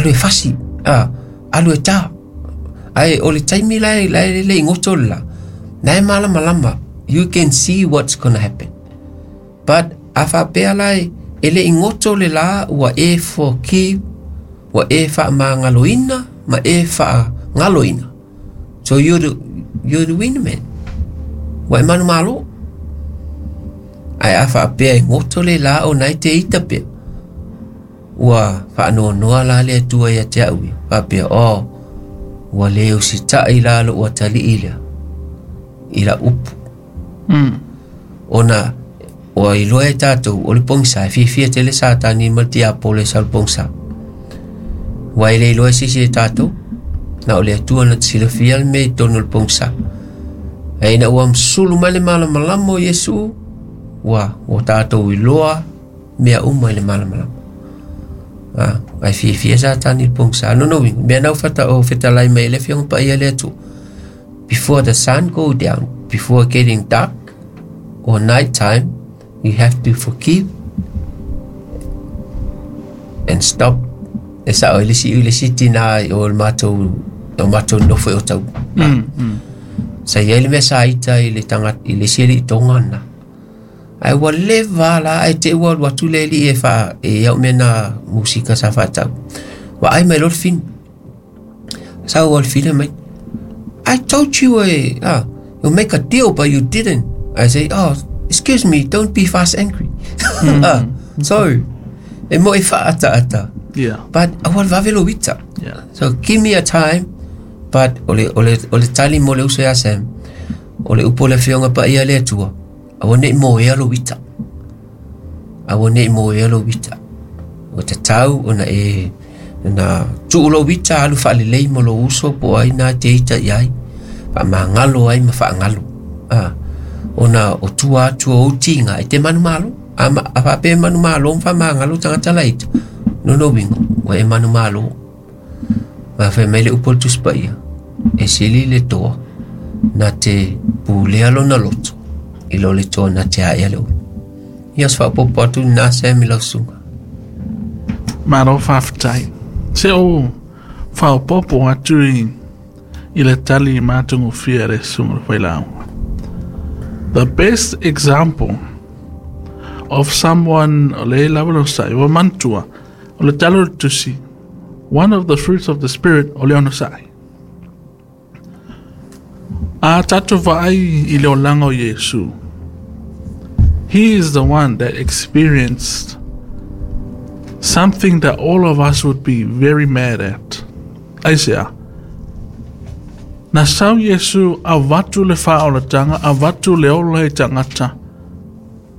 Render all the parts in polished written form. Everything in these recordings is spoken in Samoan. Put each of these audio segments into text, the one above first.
Alu e fasi, a, alu e tā. Ae o le taimi la e, la e le i goto le la, na e malamalama, you can see what's gonna happen. But a faapea la e, e le i goto le la ua e forgive, ua e faamagaloina ma e faagaloina. So you're the winner man. Ua e manumalo. Ae a faapea e goto le la ona e te ita pea. Ua faanoanoa la le Atua ia te au ia, faapea, Oh, ua le usitai la lou atalii lea i lau upu. Ona ua iloa e tatou o le pogisa e fiafia tele Satani ma le tiapolo e sau le pogisa. Ua e le iloa e se isi e tatou, na o le Atua na te silafia le mea i totonu o le pogisa. Ae ina ua sulu mai le malamalama o Iesu, ua, ua tatou iloa mea uma i le malamalama. Ah, ae fiafia Satani i le pogisa. No no, mea na ufata o fetalai mai le Afioga Paia le Atua. Before the sun go down, before getting dark or night time, you have to forgive and stop. E sao i le si i le si tina o le matou o matou nofo i Otahuhu. Sa i ai le mea sa ita i le tangata i le isi alii Tonga na. Ae ua leva la ae te ua alu atu le alii e wha e au mea na musika sa whaatau. Wa ai mai loa le fini. Sa ua le fini mai. I told you you make a deal but you didn't. I say, oh, excuse me, don't be fast angry. So, e mo e whaata ata. But aua le vave lo ita. So give me a time, but o le, o le, o le tali mo le uso ia Sam, o le upu o le Afioga Paia le Atua, aua nei moea lo ita. Aua nei moea lo ita. O te tau ona e na tuu lo ita alu whaalelei mo lo uso po ai nā te ita i ai. Whaamangalo ai ma whaangalo. Ah, ona o tua atu o utinga e te manumalo. A, ma, a whaape manumalo ma whaamangalo tangata la ita. No no wingo, ua e manumalo. Ma whai mai le upu o le Tusi Paia, e sili le toa na te pulea lona loto i lo le toa na te aea le ulu. Ia se faaopoopo atu lena Sam i lau susuga. Malo faafetai. Se o faaopoopo atu i, i le tali matagofie a le susuga o le Failauga. The best example of someone o le lava lo sai ua manatua o le tala o le tusi one of the fruits of the spirit o le onosai. A tatou vaai i le olaga o Iesu, He is the one that experienced something that all of us would be very mad at. Aisea? Na sau Iesu avatu le faaolataga, avatu le ola i tagata.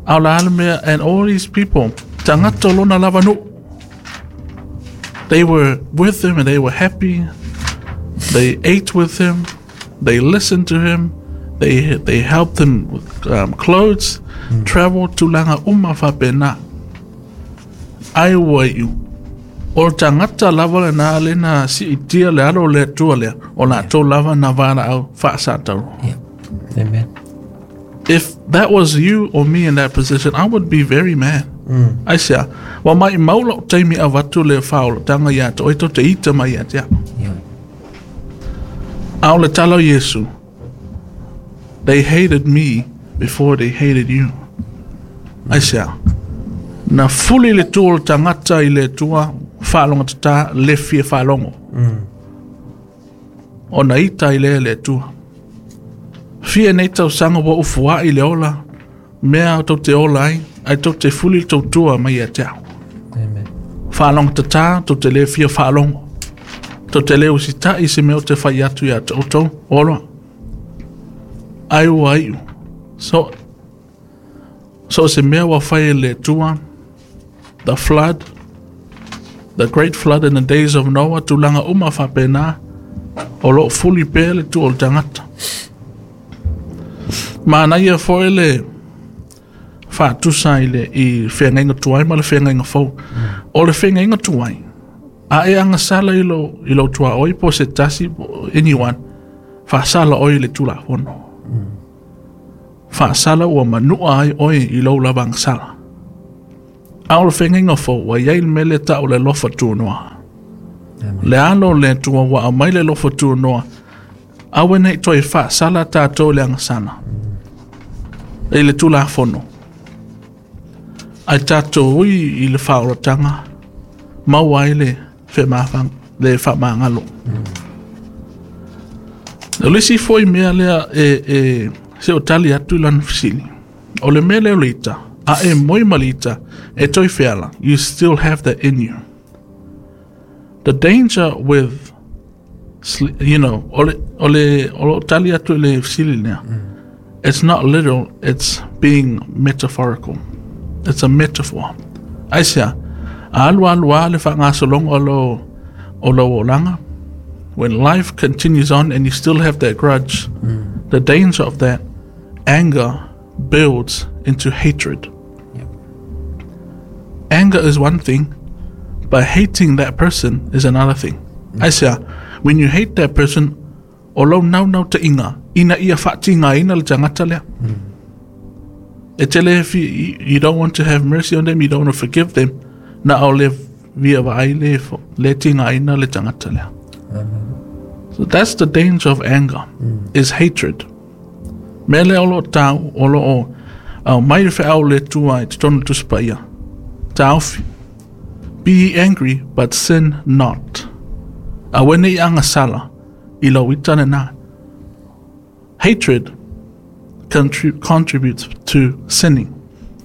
A o le a le mea, and all these people, tagata o lona lava nuu. They were with him and they were happy. They ate with him. They listened to him. They helped him with clothes, travel, tulaga uma faapena. Ai ua iu. O le tagata lava lena le na siitia le alo o le Atua lea, o latou lava na valaau faasatauro. Yeah. Amen. If that was you or me in that position, I would be very mad. Aisea, ua maimau lou taimi avatu le faaolataga ia te oe tou te ita mai ia te au. Yeah. A o le tala o Iesu, They hated me before they hated you. Aisea, na fuli le tu o le tagata i le Atua, faalogotatā, le fia faalogo. Ona ita ai lea e le Atua. Fia nei tausaga ua ufuai le ola, mea tou te ola ai, ae tou te fuli le tou tua mai ia te au. Amen. Faalogotatā, tou te le fia faalogo. Tou te le usitai i se mea ou te fai atu ia te outou, oloa. Ai ua iu. So, so o se mea ua fai e le Atua, the flood, the great flood in the days of Noah, tulaga uma faapena, o lo o fuli pea le tua o le tagata. Manaia foi le faatusa i le i feagaiga tuai ma le feagaiga fou. O le feagaiga tuai, a e agasala i lou, i lou tuaoi po o se tasi, po anyone, faasala oe i le Tulafono. Faasala ua manua ai oe i lou lava agasala. A o le feagaiga fou, ua i ai le mea lea e tau o le alofa tunoa. Le alo le Atua ua aumai le alofa tuanoa, aua ne i toe faasala tatou i le agasala, i le Tulafono. Ae tatou ui i le faaolataga, maua ai le feamafaga, le faamagalo. O le isi foi mea lea e, e se o tali atu i lana fesili, o le mea lea o le ita, a e moe ma le ita, e toe feala, you still have that in you. The danger with, you know, o le, o le, o lo tali atu i le fesili lea, it's not literal, it's being metaphorical. It's a metaphor. Aisea, a alu alu a le faagasologa o lo, o lou olaga, when life continues on and you still have that grudge, the danger of that anger builds into hatred. Anger is one thing, but hating that person is another thing. Aisea, when you hate that person, o lou naunautaiga, ina ia faatigaina le tagata lea. E tele fi, you don't want to have mercy on them, you don't want to forgive them, na o le via vaai le, le tigaina le tagata lea. So that's the danger of anger, is hatred. Mea lea o lo o tau, o lo o au mai le feau le Atua i totonu o le Tusi Paia. Taofi. Be ye angry, but sin not. Aua ne i agasala i lou ita lena. Hatred contributes to sinning.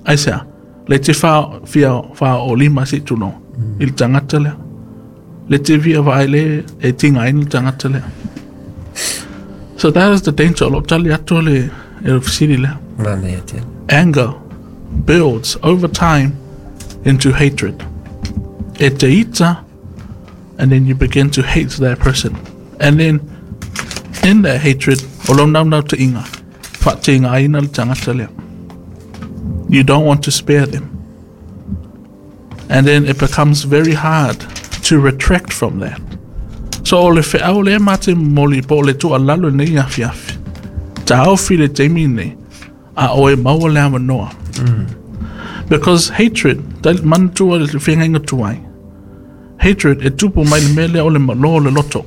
Aisea, le te wha, fia wha o lima se tuno i le tagata lea. Le te fia vaai le e tinga ina le tagata lea. So that is the danger. O lo tali atu le e le fesili lea. Manaia tele. Anger builds over time into hatred. E te ita, and then you begin to hate that person. And then in that hatred, o lou naunautaiga, faatigaina le tagata lea. You don't want to spare them. And then it becomes very hard to retract from that. So o le feau lea ma te momoli po o le tuualalo i lenei afiafi, taofi le taimi lenei, a o e maua le avanoa. Because hatred, manatua le feagaiga tuai, hatred e tupu mai le mea lea o le malo o le loto.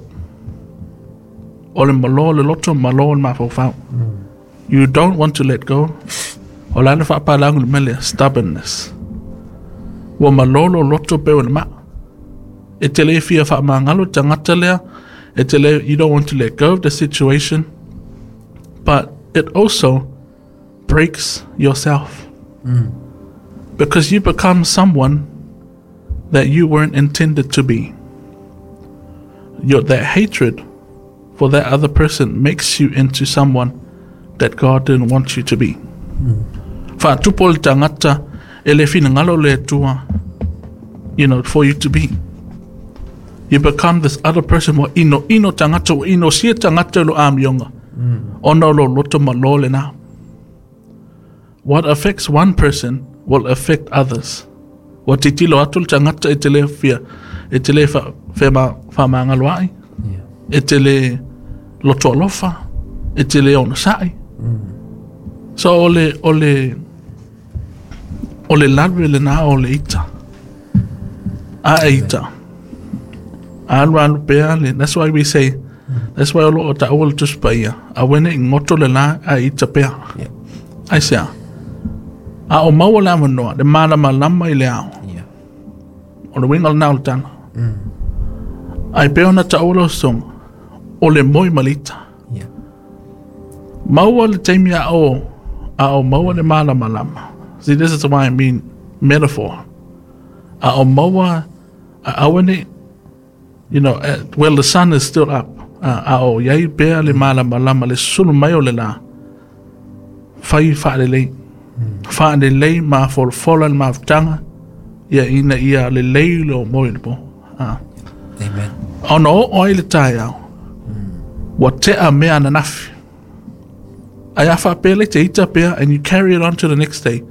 O le malo o le loto, malo o le mafaufau. You don't want to let go. O le a le faapalagi o le mea lea? Stubbornness. Ua malo lou loto pei o le maa. E te le fia faamagalo le tagata lea, e te le, you don't want to let go of the situation, but it also breaks yourself. Because you become someone that you weren't intended to be. Your, that hatred for that other person makes you into someone that God didn't want you to be. Faatupu le tagata e le finagalo le Atua, you know, for you to be. You become this other person ua inoino tagata, ua inosia tagata i lo amioga. Ona o lo loto malo lena. What affects one person will affect others. Ua titilo atu le tagata e te le fia, e te le fa, fa, faamagaloa'i, e te le loto alofa, e te le onosai. So o le, o le, o le lave lena o le ita. A e ita. Alu alu pea le, that's why we say, that's why o lo o taua le Tusi Paia, aua ne i goto le la a e ita pea. Yeah. Aisea? A o maua le avanoa, le malamalama i le ao. Yeah. O le uiga lena o le tala. Ae pei ona taua lau sosoga, o le moe ma le ita. Yeah. Maua le taimi a o, a o maua le malamalama. See, this is why I mean metaphor. A o maua, a aua ne i, you know, well the sun is still up, a o iai pea le malamalama, le susulu mai o le la, fai faalelei. Faalelei mafolafola le mafutaga, ia ina ia lelei lou moe i le po. Amen. Ona oo ai le taeao, ua tea mea ananafi. Ae a faapea le te ita pea and you carry it on to the next day,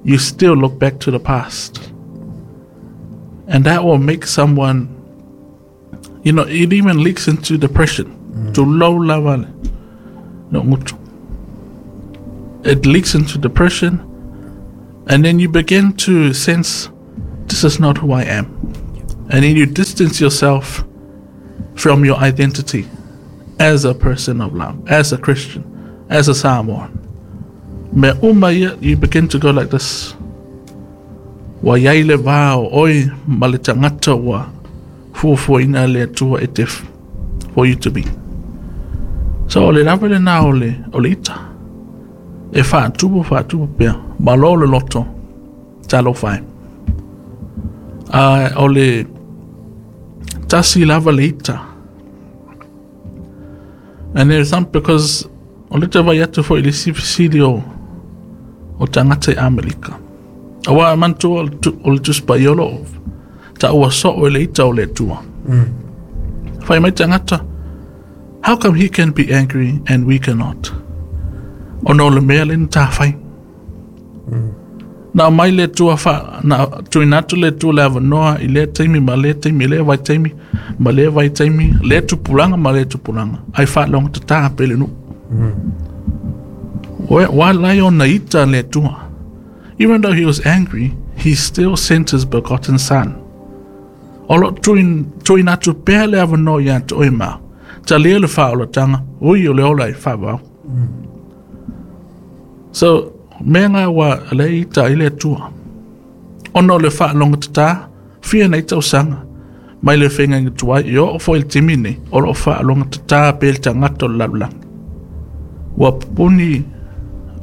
you still look back to the past. And that will make someone, you know, it even leaks into depression. Tulou lava le le gutu. It leaks into depression, and then you begin to sense, this is not who I am. And then you distance yourself from your identity as a person of love, as a Christian, as a Samoan. Mea uma ia, you begin to go like this. Ua iai le va o oe ma le tagata ua fuafuaina e le Atua e te for you to be. So o le lava lena o le, o le ita. E faatupu faatupu pea. Malo le loto. Talofa e. A o le tasi lava le ita. And there's some because o le te vai atu foi i le isi fesili o o tagata i Amerika. Aua e manatua o le Tusi Paia o lo o taua soo e le ita o le Atua. Fai mai tagata, how come he can be angry and we cannot? Ona o le mea lea na ta fai. Na aumai le Atua fa, na tuuina atu le Atua le avanoa i lea taimi ma lea taimi, i lea vaitaimi ma lea vaitaimi, lea tupulaga ma lea tupulaga, ai faalogotatā pea le nuu. Ua ala ai ona ita le Atua. Even though he was angry, he still sent his begotten son. O lo o tuuina atu pea le avanoa ia te oe ma au. Talia le faaolataga, ui o le ola e faavao. So, mea ngā ua le ita i le Atua. Ona o le faalogotatā, fia nei tausaga, mai le feagaiga tuai, e oo foi i le taimi nei, o lo o faalogotatā pea le tagata o le lalolagi. Ua pupuni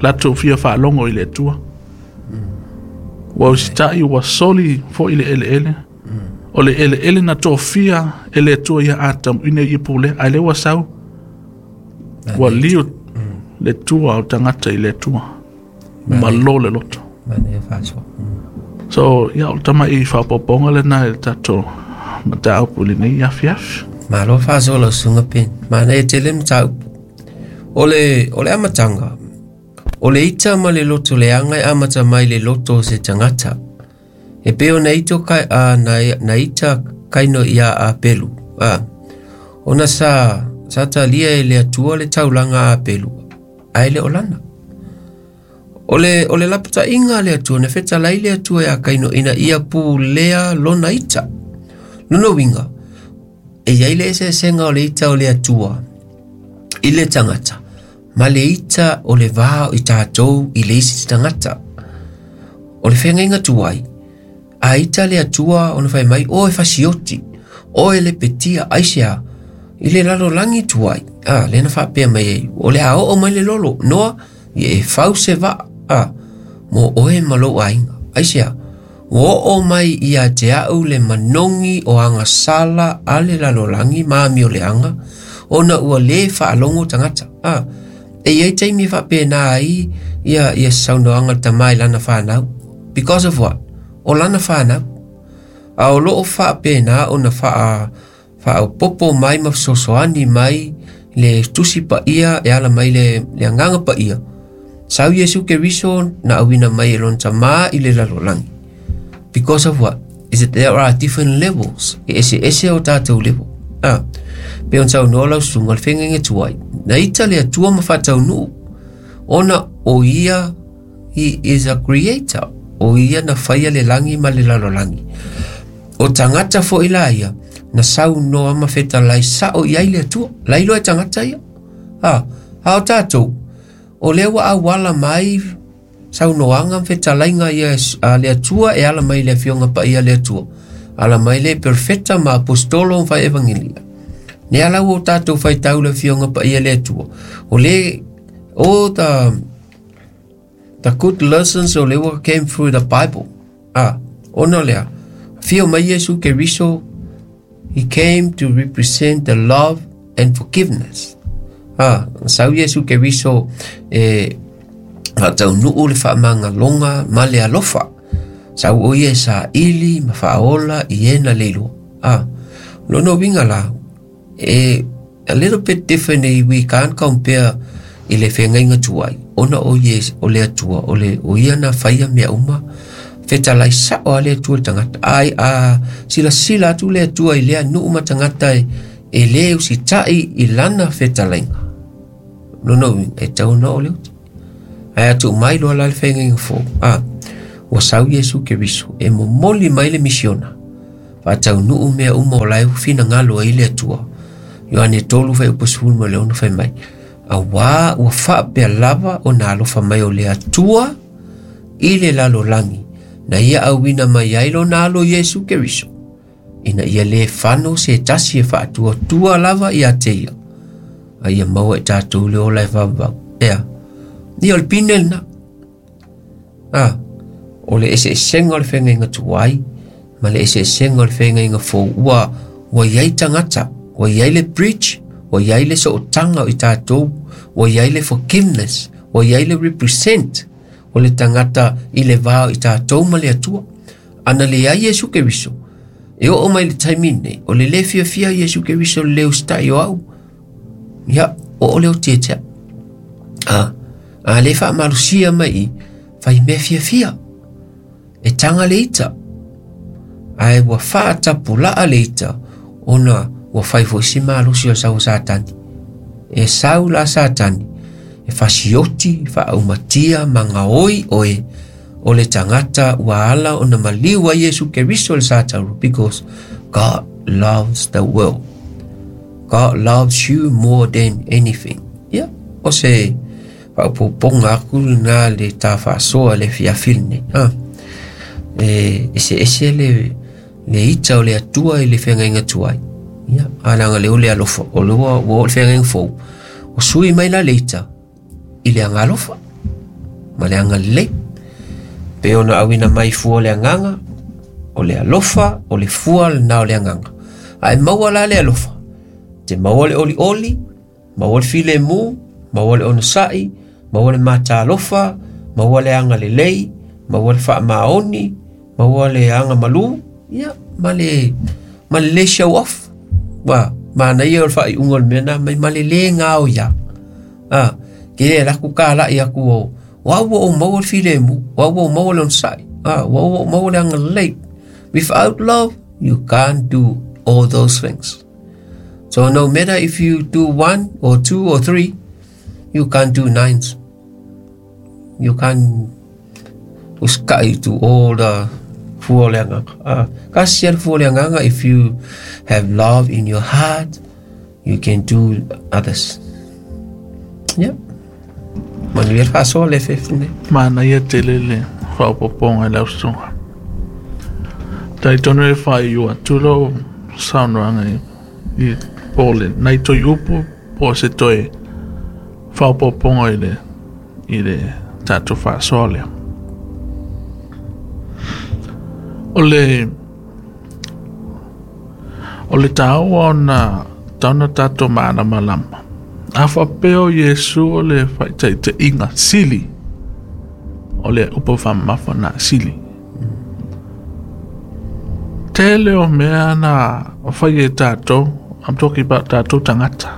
latou fia faalogo i le Atua. Ua usitai, ua soli foi le eleele. O le eleele na tofia e le Atua ia Atamu ina ia pulea, ae lea ua sau, ua liu le tua o tagata i le Atua. Malo le loto. So, ia, o le tama'i faaopoopoga lena i le tatou mataupu i lenei afiafi. Malo faasoa lau susuga Ben. Manaia tele le mataupu. O le, o le amataga, o le ita ma le loto leaga e amata mai le loto o se tagata. E pei ona ito kai, a, na, na ita kaino ia Apelu. A, ona sa, sa talia e le Atua le taulaga a Apelu, ae le o lana. O le, o le lapataiga a le Atua, na fetalai le Atua ia Kaino ina ia pulea lona ita. Lona uiga, e i ai le eseesega o le ita o le Atua i le tagata, ma le ita o le va o i tatou i le isi tagata. O le feagaiga tuai, a ita le Atua ona fai mai, o e fasioti, o e lepetia, aisea, i le lalolagi tuai, a, lea na faapea mai ai, o le a oo mai le lolo, Noa, ia e fau se vaa, a, mo oe ma lou aiga, aisea, ua oo mai ia te au le manogi o agasala a le lalolagi ma amioleaga, ona ua lē faalogo tagata. A, e i ai taimi e faapena ai ia, ia saunoaga a le tama i lana fanau. Because of what? O lana fanau. A o loo faapena ona faa, faaopoopo mai ma fesoasoani mai le Tusi Paia e ala mai le, le Agaga Paia. Sau Iesu Keriso na auina mai e lona Tama i le lalolagi. Because of what? Is that there are different levels. E eseese o tātou level. Ah, pe on saunoa lau susuga le feagaiga tuai. Na ita le Atua ma faataunuu. Ona o ia, he is a creator. O ia na whaia le langi ma le lalolagi. O tagata foi la ia, na saunoa ma fetalai sao i ai le Atua. La iloa e tagata ia. Ah, a o tātou, o lea ua auala mai saunoaga ma fetalaiga ia a le Atua e ala mai le Afioga Paia a le Atua. Ala mai le perfeta ma apostolo ma fai evangelia. Ne ala ua o tātou faitau le Afioga Paia a le Atua. O le, o the good lessons o le ua came through the Bible. Ah, ona lea, afio mai Iesu Keriso, he came to represent the love and forgiveness. Ah, sau Iesu Keriso e faataunuu le faamagaloga ma le alofa. Sau o ia e saili ma faaola i e na le iloa. Ah, lona uiga la, e a little bit different eh, we can't compare i le feagaiga tuai, ona o ia o le Atua, o le o ia na faia mea uma, fetalai sao a le Atua i le tagata. Ai a silasila atu le Atua i lea nuu ma tagata e, e lē usitai i lana fetalaiga. Lona uiga, e tatau ona oo le uti. Ae a tuu mai loa la le feagaiga fou, a, ua sau Iesu Keriso e momoli mai le misiona. Faataunuu mea uma o la e ua finagalo ai le Atua. Ioane 3 fuaiupu 16 fai mai, auā ua faapea lava ona alofa mai o le Atua i le lalolagi, na ia auina mai ai lona alo Iesu Keriso, ina ia lē fano se tasi e faatuatua lava ia te ia, a ia maua i tatou le ola e vavavau. Ea, ia o le pine lena. A, o le eseesega o le feagaiga tuai ma le eseesega o le feagaiga fou. Ua, ua i ai tagata, ua i ai le bridge, ua i ai le sootaga o i tatou, ua i ai le forgiveness, ua i ai le represent o le tagata i le va o i tatou ma le Atua. Ana leai Iesu Keriso, e oo mai le taimi nei, o le lē fiafia Iesu Keriso le lē usitai o au, ia, o o le oti e te au. A, a le faamalosia mai i, fai mea fiafia, e taga le ita, ae ua faatapulaa le ita, ona ua fai foi si malosi o le sau o Satani. E sau la Satani, e fasioti, faaumatia, ma gaoi oe, o le tagata ua ala ona maliu ai Iesu Keriso i le sa taurua, because God loves the world. God loves you more than anything. Ia, o se faaopoopoga aku lena le ta faasoa le afiafi lenei. Ah, e eseese le le ita o le Atua i le feagaiga tuai. Ia, a leaga lea o le alofa, o lea ua ua oo le feagaiga fou, ua sui mai la le ita i le agalofa ma le agalelei. Pe ona auina mai fua o le agaga, o le alofa, o le fua lena o le agaga. Ae maua la le alofa, te maua le olioli, maua le filemu, maua le onosai, maua le matalofa, maua le agalelei, maua le faamaoni, maua le agamalu, ia, ma le, ma le lē show off. Ua, manaia o le faaiuga o le mea na mai ma le lē gaoia. A, ke le alu atu kalai atu o, o au ua ou maua le filemu, o au ua ou maua le onosai, a, ua ou maua le agalelei. Without love, you can't do all those things. So no matter if you do one or two or three, you can't do nines. You can't usikai to all the fua o le agaga. Kasi le fua o le agaga, if you have love in your heart, you can do others. Yeah. Manuia le faasoa le afiafi nei. Manaia tele le faaopoopoga i lau susuga. Talitonu e faaiu atu lou saunoaga i, i po o le nai toi upu po o se toe faaopoopoga i le, i le tatou faasoa lea. O le, o le taua ona tauna tatou malamalama. A faapea o Iesu o le faitaitaiga sili, o le upu faamamafa na sili. Tele o mea na fai e tatou, I'm talking about tatou tagata.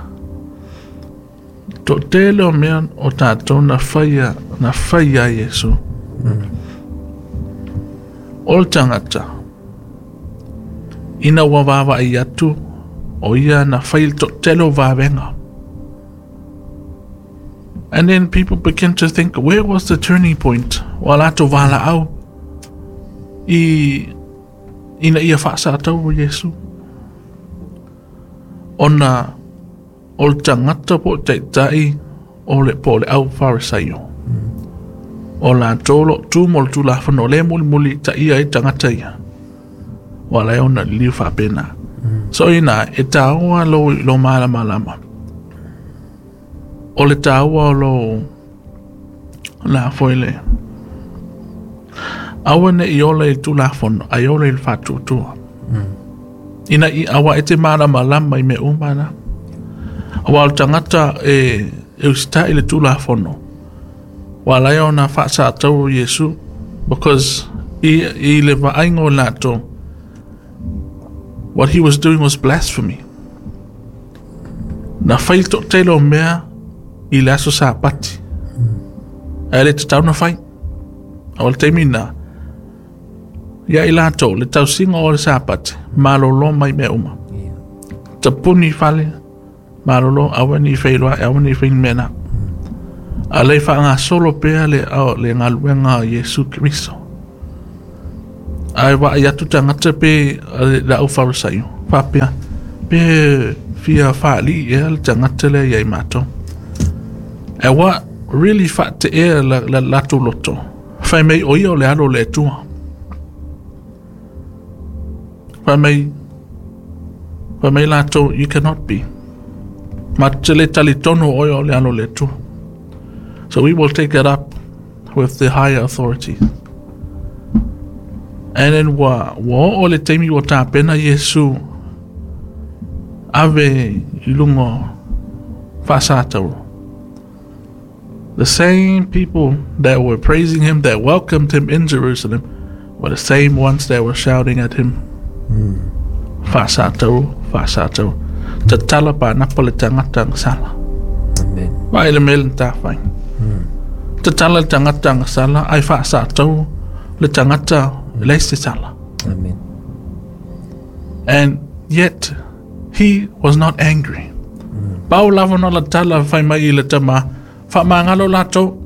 To tele o mea o tatou na faia, na faia Iesu. O le tagata, ina ua vaavaai atu, o ia na fai le toatele o vavega. And then people begin to think, where was the turning point? Ua latou valaau i ina ia faasatau o Iesu. Ona o le tagata po o taitai o le po o le au Farisaio. O latou lo tu mo le tulafono o le mulimuli ta ia ai tagata ia. Ua ala ai ona liliu faapena. So ina e taua lou lo malamalama. O le taua o lou la foi le aua ne i ola i le tulafono ai ola i le faatuatua. Ina i aua e te malamalama i mea uma na. Aua o le tagata e, e usitai i le tulafono. Ua ala ai ona faasatau o Iesu because i, i le vaaiga o latou what he was doing was blasphemy. Na fai le toatele o mea i le aso Sapati. Ae le tatau na fai. O le taimi na, ia i latou, le tausiga o le Sapati, malolo mai mea uma. Tapuni fale, malolo, aua ne i feiloai, aua ne i fai ni mea na. A lei faagasolo pea le, le galuega a Iesu Keriso. Ae vaai atu tagata pe le au Farisaio, faapea, pe fia faalii ea le tagata lea ia i matou. E ua really faateea la latou loto, fai mai o ia o le alo o le Atua. Fai mai, fai mai latou, you cannot be. Matou te le talitonu o oe o le alo o le Atua. So we will take it up with the higher authority. And then ua oo le taimi ua tapena Iesu ave i luga faasatauro. The same people that were praising him, that welcomed him in Jerusalem, were the same ones that were shouting at him. Faasatauro, faasatauro. Tatala panapa le tagata agasala. Amen. Vaai le mea le tafai. Tatala le tagata agasala, ai faasatauro le tagata leai se sala. Amen. And yet, he was not angry. Pau lava na la tala fai mai i le tama, faamagalo latou,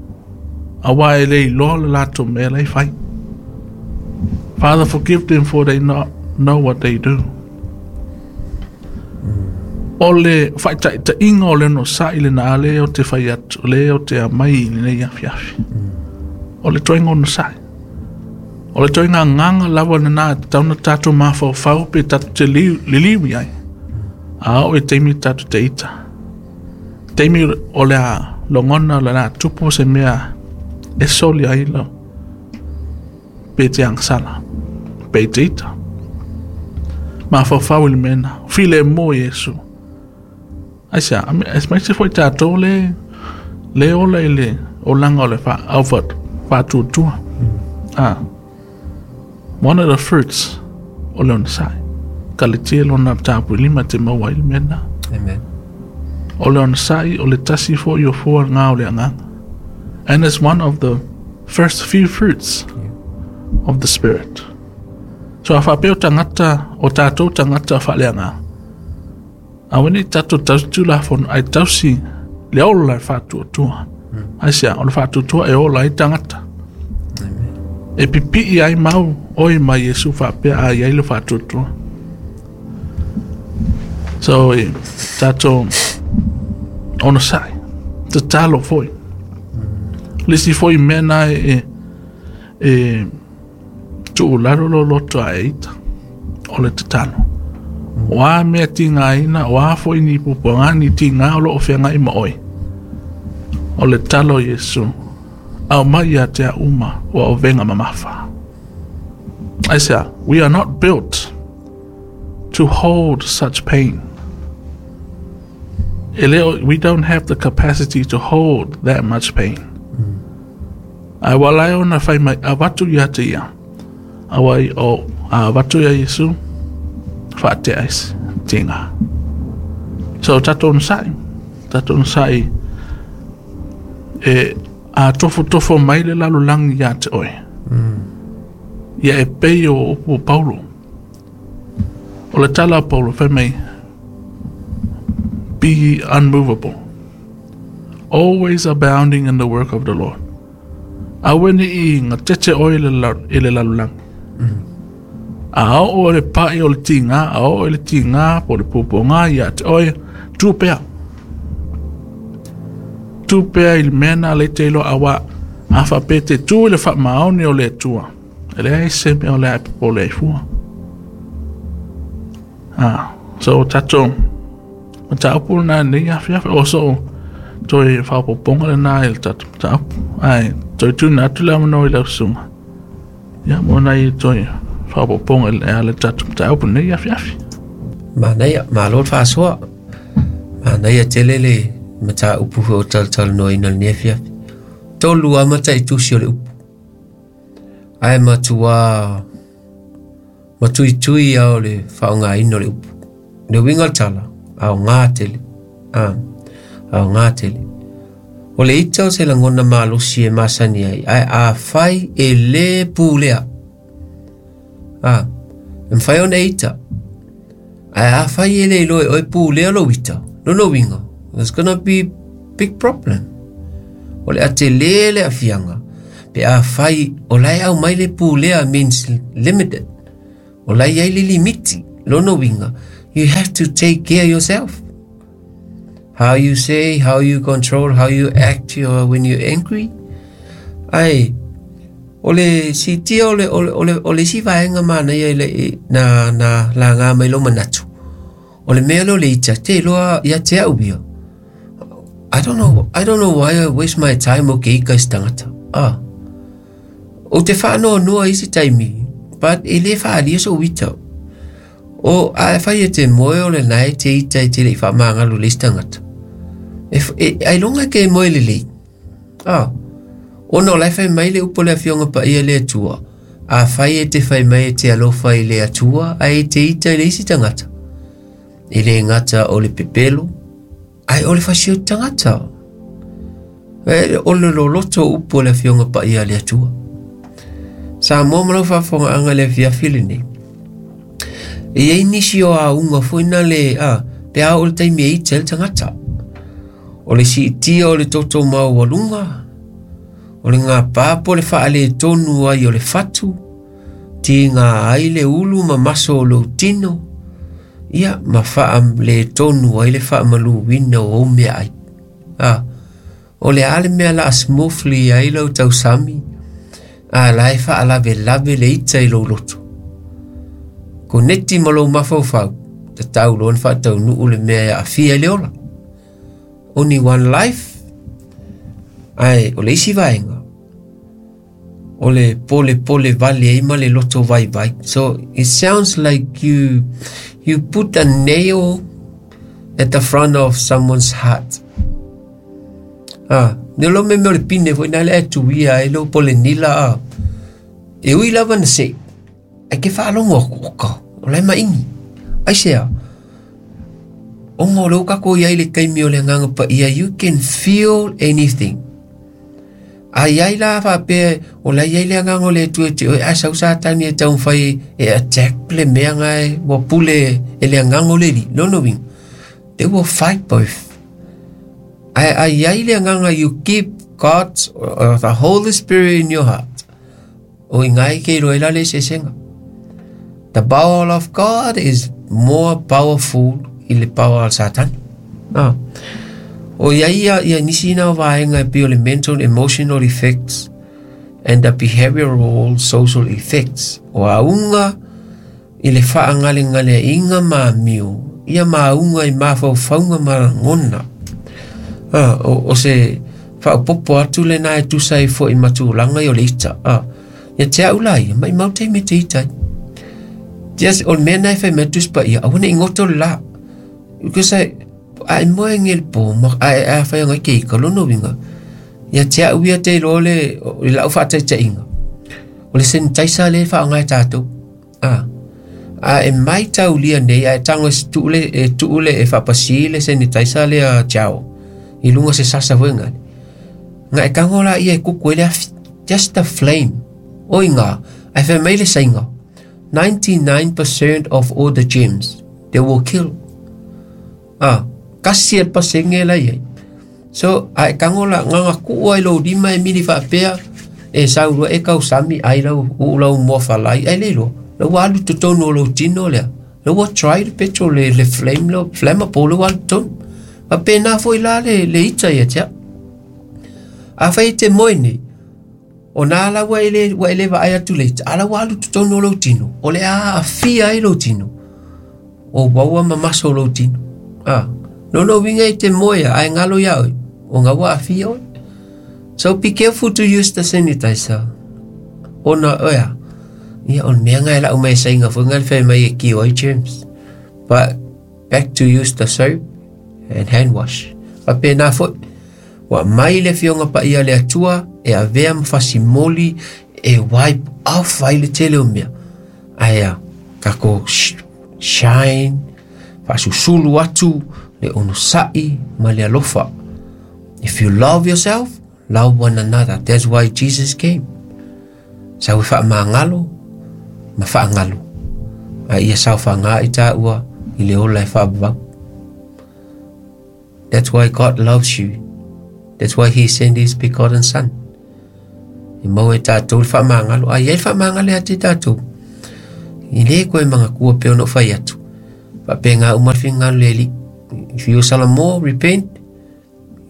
auā e le iloa le latou mea la e fai. Father, forgive them for they not know what they do. O le faataitaiga o le onosai lena lea ou te fai atu, lea ou te aumai i lenei afiafi. O le toega onosai. O le toega agaga lava lena e tatau ona tatou mafaufau pe tatou te liliu i ai. A oo i taimi tatou te ita. Taimi o le a logona o le a tupu se mea e soli ai lau pe te agasala, pe te ita. Mafaufau i le mea lena. Filemu Iesu. Aisea, aemaise foi tatou le le ola i le olaga o le au faatuatua. Ah, one of the fruits o le onosai. Kaletia lona tapuilima te maua ai le mea lena. Amen. O le onosai o le tasi foi o fua ngā o le agaga. And it's one of the first few fruits of the Spirit. So a faapea o tagata, o tatou tagata faaleagaga, aua ne i tatou tausi Tulafono, ae tausi le ola e faatuatua. Aisea? O le faatuatua e ola ai tagata. E pipii ai mau oe ma Iesu faapea a i ai le faatuatua. So, e, tatou onosai, tatalo foi. Le isi foi mea na e, e tuu lalo lou loto a e ita, o le tatalo. O a mea tigaina, o a foi ni pupuaga, ni tiga o lo o feagai ma oe. O le talo o Iesu, aumai ia te au uma ua ovega mamafa. Aisea, we are not built to hold such pain. E le o, we don't have the capacity to hold that much pain. Ae ua ala ai ona fai mai, avatu ia te ia. Aua i o, a avatu ia Iesu, faatea ai se tiga. So tatou onosai, tatou onosai e a tofotofo mai le lalolagi ia te oe. Ia e pei o upu o Paulo. O le tala a Paulo, fai mai, be ye unmovable, always abounding in the work of the Lord. Aua ne i gatete oe i le lalolagi. A oo le paʻi o le tigā, a oo i le tigā po o le puapuagā ia te oe, tu pea. Tu pea i le mea na le te iloa auā a faapea te tu i le faamaoni o le Atua, e leai se mea o le a e popole ai fua. Ah, so tatou mataupu lena i lenei afiafi, o sou toe faaopoopoga lena i le tatou mataupu. Ae toe tuuina atu le avanoa i lau susuga, ia, mo nai toe faaopoopoga e ala i le tatou mataupu i lenei afiafi. Manaia, malo le faasoa. Manaia tele le mataupu foi o talatalanoaina i lenei afiafi. Tolu lava mataitusi o le upu. Ae matua matuitui lava o le faaaogaina o le upu. Le uiga o le tala, aoga tele. A, aoga tele. O le ita o se lagona malosi e masani ai, ae afai e le pulea. A, e mafai ona e ita. Ae afai e le iloa e oe pulea lou ita, lona uiga, there's gonna be big problem. O le a tele le aafiaga. Pe afai o la e aumai le pulea means limited. O la e i ai le limiti. Lona uiga, you have to take care yourself. How you say, how you control, how you act your, when you're angry. Ai, o le siitia o le, o le, o le, o le isi vaega manaia i le, i, na, na laga mai lou manatu. O le mea lea o le ita, te iloa ia te au ia. I don't know, I don't know why I waste my time o ke ika i se tagata. Ah. Ou te whaanoanoa i isi taimi, but e le whaalia sou ita. O, a e whai e te moe o le nae te ita i te lei whaamāngalo le isi tangata. E, e, ai longa ke moe lelei. Ah. Ona o la e whai mai le upo le afioga paia le Atua. A whai e te whai mai e te alofa i le Atua, a e te ita i le isi tangata. E le ngata o le pepelo, Ai o le fasi o te tangata. E, o le loloto o upu o le afioga paia a le Atua. Samoa ma lau faafofogaaga i le afiafi lenei. E i ai nisi o auga foi na le, a, pe a oo i le taimi e ita ai le tagata. O le siitia o le toto maualuga, o le gapa po o le faaletonu ai o le fatu, tiga ai le ulu ma maso o lou tino, ia, ma faaletonu ai le faamaluina o ou meaai. A, o le a le mea la a smoothly ai lau tausami, a la e faalavelave le ita i lou loto. Koneti ma lou mafaufau, tatau loa ona faataunuu le mea e aafia i le ola. Only one life, ae o le isi vaega, o le polepole vale ai ma le loto vaivai. So it sounds like you you put a nail at the front of someone's heart. Ah, ne lo me me o le pine foi na le atu ia ai lo pole nila a. E ui lava na se. Ai ke whaalongo aku oka. O lai ma ingi. Ai se a. Onga o le ukako i ai le taimi o le agaga paia, you can feel anything. A i ai la faapea, o la i ai le agaga o le Atua e te oe, ae sau Satani e taumafai e attack le mea nga e ua pule e le agaga o le Alii. Lona uiga, they will fight both. Ae a i ai le agaga, you keep God or the Holy Spirit in your heart. O i ngai ke iloa ai la le eseesega. The power of God is more powerful i le power o Satani. Ah. O ia ia, ia nisi na vaega e pei o le mental emotional effects and the behavioral social effects. O auga i le faagalegaleaiga ma amio, ia ma auga i mafaufauga ma lagona. Ah, o, o se faaopoopo atu lena e tusa ai foi ma tulaga i o le ita. Ah, ia te au la ia, maimau taimi e te ita ai. Just, o le mea na e fai mai Tusi Paia, aua ne i goto le la. Because I, a e moe nge le po, ma, a e a whai ngai ke ika, lona uiga, ia te au ia te iloa le, i lau faataitaiga. O le sanitizer lea e faaaoga e tatou. A, a e maitaulia nei, a e tago e tuu le, e tuu le, e faapasi le sanitizer lea gel i luga o se sasa foi ngale. Nga e tago la ia e kuku ai le afi. Just the flame. Oi ngā, ae fai mai le saiga, 99% of all the germs, they will kill. A, kasi e le pasenge la i ai. So, a e tago la, nganga kuu ai lou lima e mili faapea, e sau loa e kausami ai lau, uu lau moa falai, ai le iloa, la ua alu i totonu o lou tino lea, la ua try le petrol le, le flame le flammable la ua alu i totonu. Faapena foi la le, le ita ia te au. Afai e te moe nei, o nā la ua e le, ua e le vaai atu le ita, a la ua alu i totonu o lou tino, o le a aafia ai lou tino, o uaua ma maso o lou tino. A, lona uiga i te moe a, ae galo iā oe, o ngā ua aafia oe. So be careful to use the sanitizer. Ona, oea, ia, o le mea nga e lau mai e sainga foi nga le fai mai e kio ai germs. But back to use the soap and hand wash. Faapena foi, ua aumai le Afioga Paia a le Atua e avea ma fasimoli e wipe off ai le tele o mea. Ae a, tatou shine, faasusulu atu le onosai ma le alofa. If you love yourself, love one another. That's why Jesus came. Sau e faamagalo ma faagalu. A ia saofaga i tāua i le ola e faavavau. That's why God loves you. That's why he sent his begotten son. E maua e tatou le faamagalo. A i ai le faamagalo ia te tatou, e lē koe magatua pe ona ou fai atu. Faapena uma le finagalo le Alii. If you Salamo repent,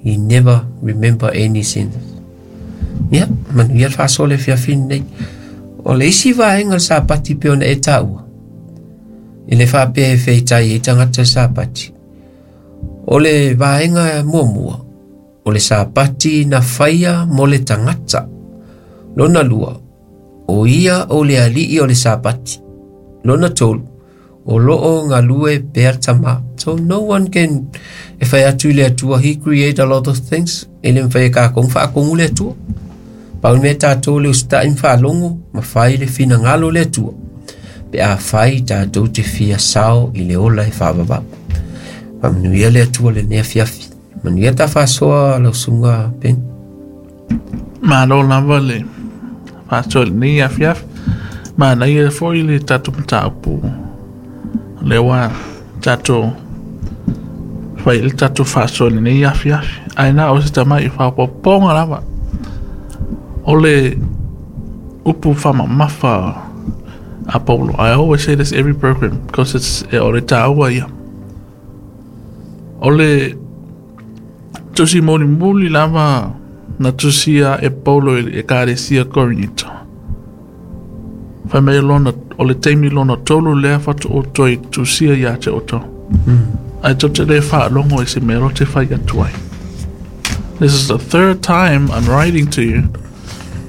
he never remember any sins. Ia, manuia le faasoa le afiafi lenei. O le isi vaega o le Sapati pei ona e taua, e le faapea e feetai ai tagata i le Sapati. O le vaega muamua, o le Sapati na faia mo le tagata. Lona lua, o ia o le alii o le Sapati. Lona tolu, o loo galue pea le Tama. So no one can e fai atu i le Atua, he create a lot of things, e le mafai e kākou ona faatonu le Atua. Pau le mea tatou le usitai ma faalogo ma fai le finagalo o le Atua, pe a fai tatou te fia sao i le ola e faavavau. Faamanuia le Atua lenei afiafi. Manuia ta faasoa lau susuga Ben. Malo lava le faasoa i lenei afiafi. Manaia foi le tatou mataupu lea ua tatou fai i le tatou faasoa i lenei afiafi. Ae na o se tamai faaopoopoga lava o le upu faamamafa a Paulo. I always say this every program because it's o le taua ia. O le tusi mulimuli lava na tusia e Paulo i le Ekalesia Korinito. Fai mai lona, o le taimi lona tolu lea faatoa toe tusia ia te outou. Ae tou te le faalogo i se mea ou te fai atu ai. This is the third time I'm writing to you,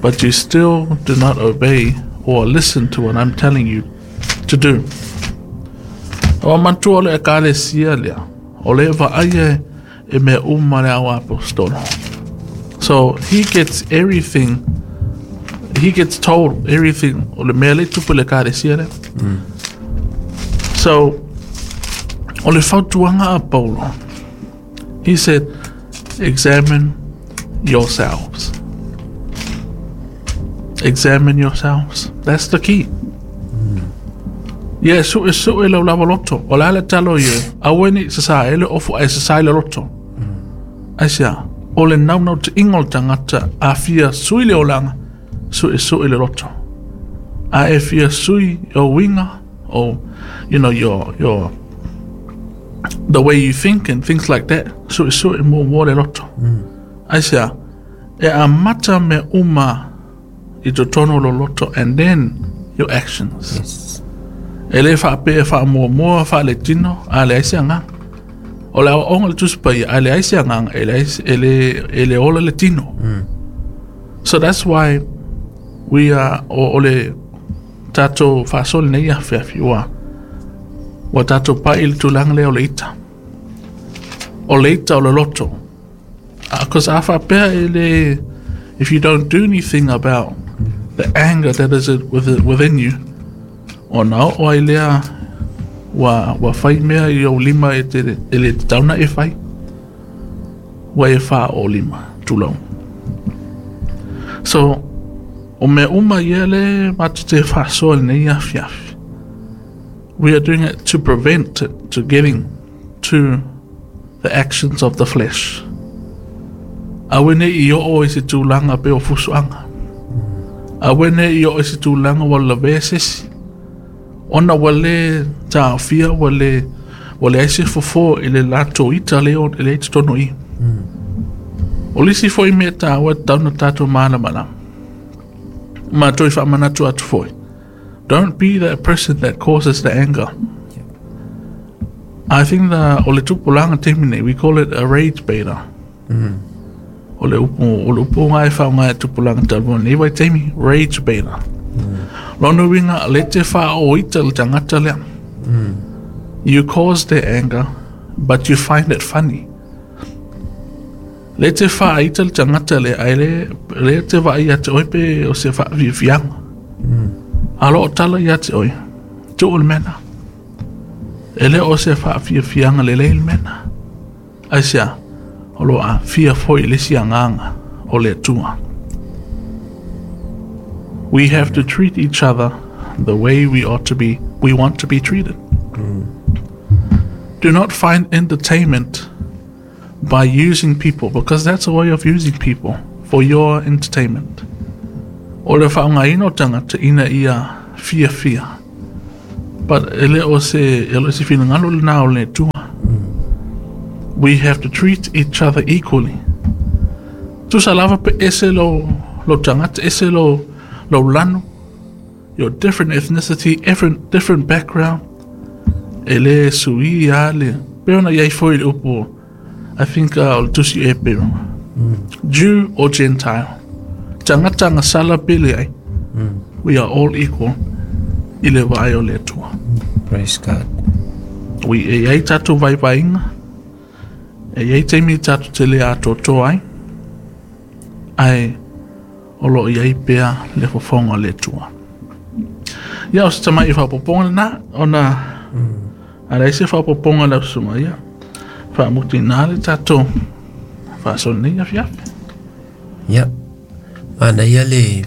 but you still do not obey or listen to what I'm telling you to do. Ua manatua o le Ekalesia lea, o le vaaia e mea uma le au apostolo. So he gets everything, he gets told everything o le mea le tupu le Ekalesia lea. So, o le fautuaga a Paulo, he said, examine yourselves. Examine yourselves. That's the key. Ia, suesue lou lava loto. O le a le talo ia, aua ne i sasā ai le ofu ae sasā i le loto. Aisea? O le naunautaiga o le tagata a fia sui le olaga, suesue le loto. A e fia sui o uiga, o, you know, your, the way you think and things like that, suesue muamua le loto. Aisea? E amata mea uma i totonu o lou loto and then your actions. Yes. E le faapea e faamuamua faaletino, a leai se agaga. O le aoaoga o le Tusi Paia, a leai se agaga, e leai se- e le, e le ola le tino. So that's why we are, o, o le tatou faasoa lenei afiafi, ua, ua tatou pai i le tulaga lea o le ita. O le ita o le loto. Because a faapea e le, if you don't do anything about the anger that is within you, ona oo ai lea ua, ua fai mea i ou lima e, te, e le tatau ona e fai. Ua e fāo lima, tulou. So, o mea uma ia le matou te faasoa i lenei afiafi. We are doing it to prevent it to getting to the actions of the flesh. Aua ne i oo i se tulaga pei o fusuaga. Aua ne i oo i se tulaga ua lavea se isi. Ona ua le taofia, ua le, ua leai se fofo i le latou ita lea o lea i totonu i i. O le isi foi mea taua e tatau ona tatou malamalama, ma toe faamanatu atu foi, don't be that person that causes the anger. I think the, o le tupulaga taimi nei, we call it a rage baiter. O le upu, o le upu ngā e whaonga e tupulaga talu nei vaitaimi, rage baiter. Lona uiga, le te whaoita le tangata lea. You cause their anger, but you find it funny. Le te whaaita le tangata lea, ai le, le te vaai ia te oe pe o se whaafiafiaga. A lo o tala ia te oe, tuu le mea lena. E le o se whaafiafiaga lelei le mea lena. Aisea? O lo o aafia foi le isi agaga o le Atua. We have to treat each other the way we ought to be, we want to be treated. Do not find entertainment by using people, because that's a way of using people for your entertainment. O le faaaogaina o tagata ina ia fiafia. But e le o se, e le o se finagalo lena o le Atua. We have to treat each other equally. Tusa lava pe ese lo, lo tagata, ese lo, lo lanu, your different ethnicity, different, different background, e le sui a le, pe ona iai foi le upu, I think o le tusi e pero. Jew or Gentile. Tagata gasala pe leai. We are all equal i le vaai o le Atua. Praise God. Ui, e iai tatou vaivaiga, e iai taimi tatou te le atoatoa ai, ae o lo o iai pea le fofoga o le Atua. Ia, o se tamai faaopoopoga lena, ona a leai se faaopoopoga lau susuga, ia, faamutina le tatou faasoa lenei afiafi. Ia, manaia le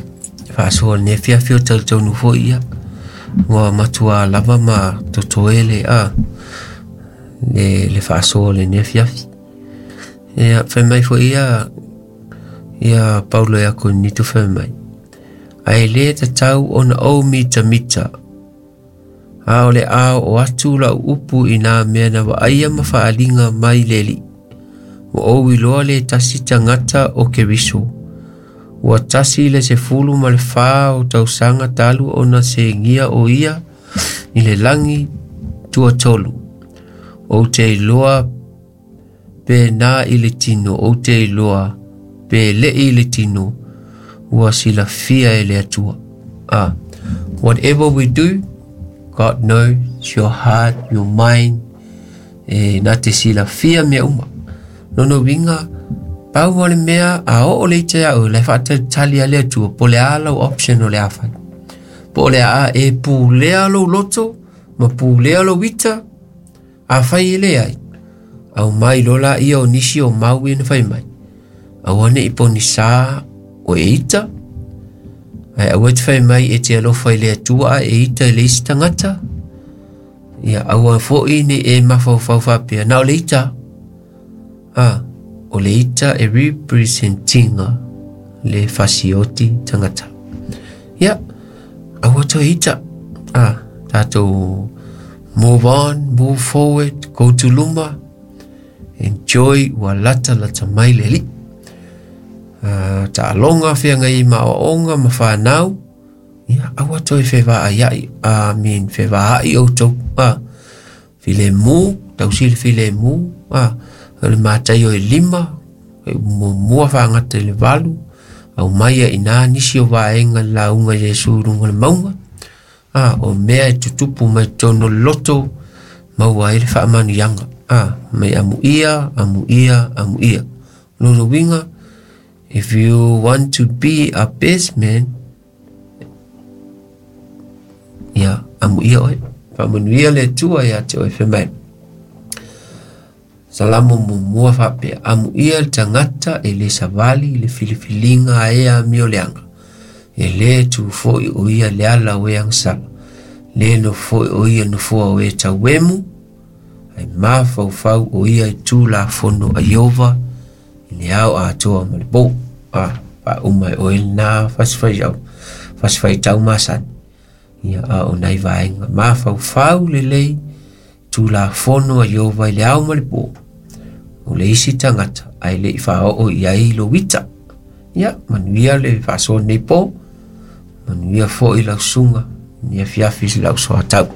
faasoa lenei afiafi o talitonu foi ia. Ua matua lava ma totoe le a le, le faasoa lenei afiafi. Ia, fai mai foi ia ia Paulo ia Korinito fai mai. Ae le tatau ona ou mitamita a o le a oo atu lau upu i nā mea na vaaia ma faaaliga mai le Alii. Ua ou iloa le tasi tagata o Keriso. Ua tasi le 14 o tausaga talu ona segia o ia i le lagi tuatolu. Ou te iloa pe na i le tino, ou te iloa pe le'i i le tino, ua silafia e le Atua. Ah, whatever we do, God knows your heart, your mind, e na te silafia mea uma. Lona uiga, pau o le mea a oo le ita iā oe, la e faatalitali a le Atua, po o le a lau option o le a fai. Po o le a e pulea lou loto, ma pulea lou ita, Afai e leai, aumai loa laia o nisi o mau ia na fai mai. Aua ne i ponisā o e ita, ae aua e te fai mai e te alofa i le Atua a e ita i le isi tagata. Ia aua foi ne i e mafaufau faapea, na o le ita. A, o le ita e representinga le fasioti tagata. Ia, aua toe ita. A, tātou move on, move forward, go to luma, enjoy ua lata lata mai le alii. Taaloga feagai ma aoaoga ma fanau, ia aua toe fevaaiai, I mean fevaai outou, filemu, tausi le filemu, o le mataio e lima, e muamua faagata i le valu, aumai ai i ina nisi o vaega i le lauga a Iesu i luga o le mauga, A, o mea e tutupu mai totonu o le loto, maua ai le faamanuiaga. A, mai amuia, amuia, amuia. O lona uiga, if you want to be a best man, ia, amuia oe. Faamanuia le Atua ia te oe, fai mai. Salamo muamua faapea, Amuia le tagata e le savali i le filifiliga a e amioleaga, e le tu foi o ia le ala o e agasala, le nofo foi o ia nofoa o e tauemu, ae mafaufau o ia i Tulafono a Ieova i le ao atoa ma le po. A, faauma e oe lena fasifaitau, fasifaitau masani. Ia, a o nai vaega mafaufau lelei, Tulafono a Ieova i le ao ma le po, o le isi tagata ae le i faaoo i ai lou ita. Ia, manuia le faasoa lenei po, manuia foi lau susuga i afiafi i lau soatau.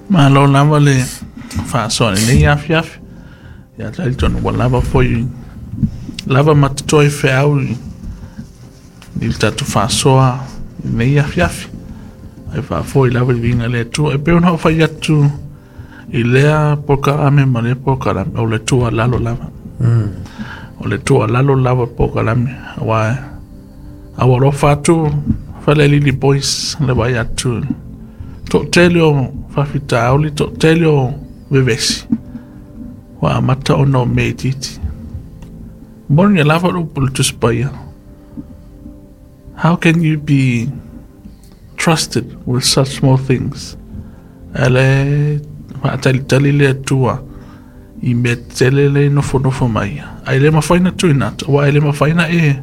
Malo lava le faasoa i lenei afiafi. Ia talitonu ua lava foi lava ma totoe feau i le tatou faasoa i lenei afiafi. Ae faafoi lava i le viiga i le Atua. E pei ona ou fai atu i lea polokalame ma lea polokalame, o le tuualalo lava. O le tuualalo lava polokalame, aua a ua alofa atu Falealili Boys le vaai atu toatele o faafitauli, toatele o vevesi ua amata ona o mea itiiti. Moni lava le upu o le Tusi Paia. How can you be trusted with such small things? Ae le faatalitali le Atua i mea tetele le nofonofo mai. Ae le mafai na tuuina atu, aua e le mafai na e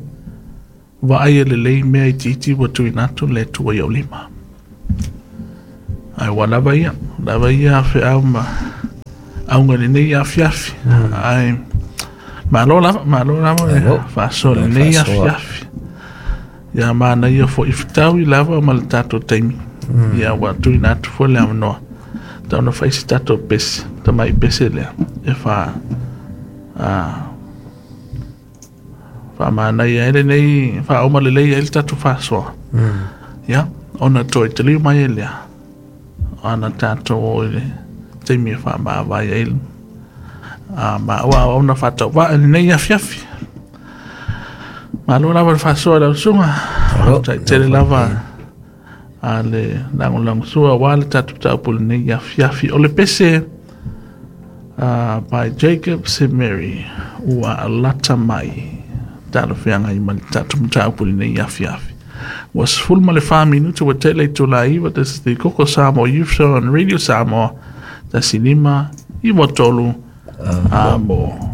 Vaai e lelei mea itiiti ua tuuina atu le Atua i ou lima. Ae ua lava ia, lava ia feau ma auga i lenei afiafi. Ae malo lava, malo lava le faasoa i lenei afiafi. Ia manaia foi fetaui lava ma le tatou taimi. Ia ua tuuina atu foi le avanoa. Tau na fai se tatou pese, tamai pese lea, e fa faamanaia ai lenei, faauma lelei ai le tatou faasoa. Ia, ona toe taliu mai ai lea, ana tatou o i le taimi e faamavae ai ma ua ona faatauvaa i lenei afiafi. Malo lava le faasoa i lau susuga. Faafetai tele lava a le lagolagosua aua le tatou mataupu i lenei afiafi. O le pese by Jacob Semeri ua lata mai talafeagai ma le tatou mataupu i lenei afiafi. Ua 14 minute ua tele i itula e 9. This is the Koko Samoa Youth Show on Radio Samoa 1 5 9 3 amo.